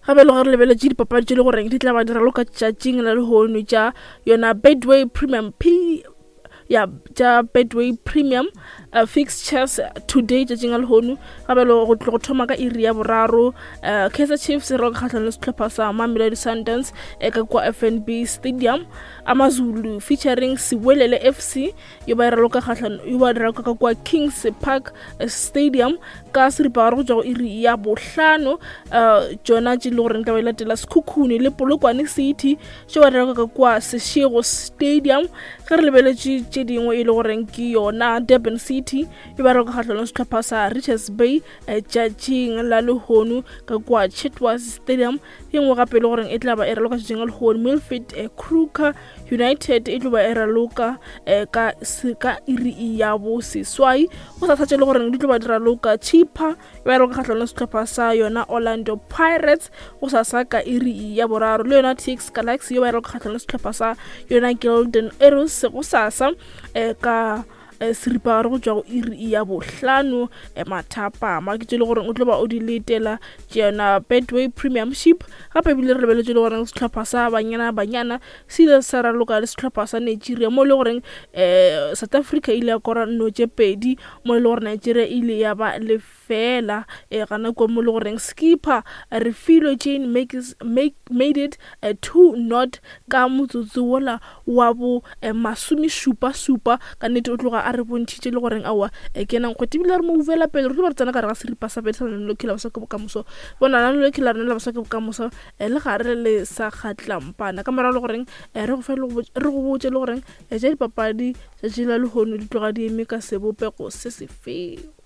Gape le gore re lebeletše dipapadi tše le goreng di tla ba di raloka tšatšing la lehono tša yona Betway Premium P ya tša Betway Premium uh, fixtures today tšatšing la lehono. Gape le go tlo go thoma ka iri ya boraro uh, Kaizer Chiefs e raloka kgahlano le sehlopha sa Mamelodi Sundowns e ka kwa FNB Stadium. Amazulu featuring Siwelele FC yo ba e raloka kgahlano yo ba raloka ka kwa Kings Park Stadium ka seripagare go tšwa go iri ya bohlano. Tšona tše le goreng tla ba e latela Sekhukhune le Polokwane City tše ba raloka ka kwa Seshego Stadium. Ge re lebeletše tše dingwe e le goreng ke yona Durban City e ba raloka kgahlano le sehlopha sa Richards Bay tšatšing la lehono ka kwa Chetwas Stadium. E nngwe gape e le goreng e tla ba e raloka tšatšing la lehono Milford Kruger United e tlo ba e raloka ka ka iri ya bo seswai. Go sa tše le goreng di tlo ba di raloka Chippa e ba raloka kgahlano le sehlopha sa yona Orlando Pirates go sasa ka iri ya boraro, le yona TX Galaxy yo ba e raloka kgahlano le sehlopha sa yona Golden Arrows go sasa ka seripagare go tšwa go iri ya bohlano mathapama. Ke tše le goreng o tlo ba o di letela tše yona Betway Premiership. Gape ebile re lebeletše le goreng sehlopha sa Banyana Banyana se ile sa raloka le sehlopha sa Nigeria mo e le goreng South Africa ile ya kora nno tše pedi mo e le gore Nigeria e ile ya ba lefela gana kua mo e le goreng skipper Refilwe Jane made it 2 not ka motsotso wola wa bo masomešupa supa. Ka nnete o tloga a re bontšhitše le goreng aowa ke yena nkgwete, ebile re mo uvela pele. Re tlo ba re tsena ka gare ga seripa sa pele sa lenaneo la Baswa ke Bokamoso. Bona lenaneo la rena la Baswa ke Bokamoso le gare le sa kgatlampana ka morago le goreng re go fe re go botše le goreng tša dipapadi tšatši la lehono di tloga di eme ka sebopego se sefeng.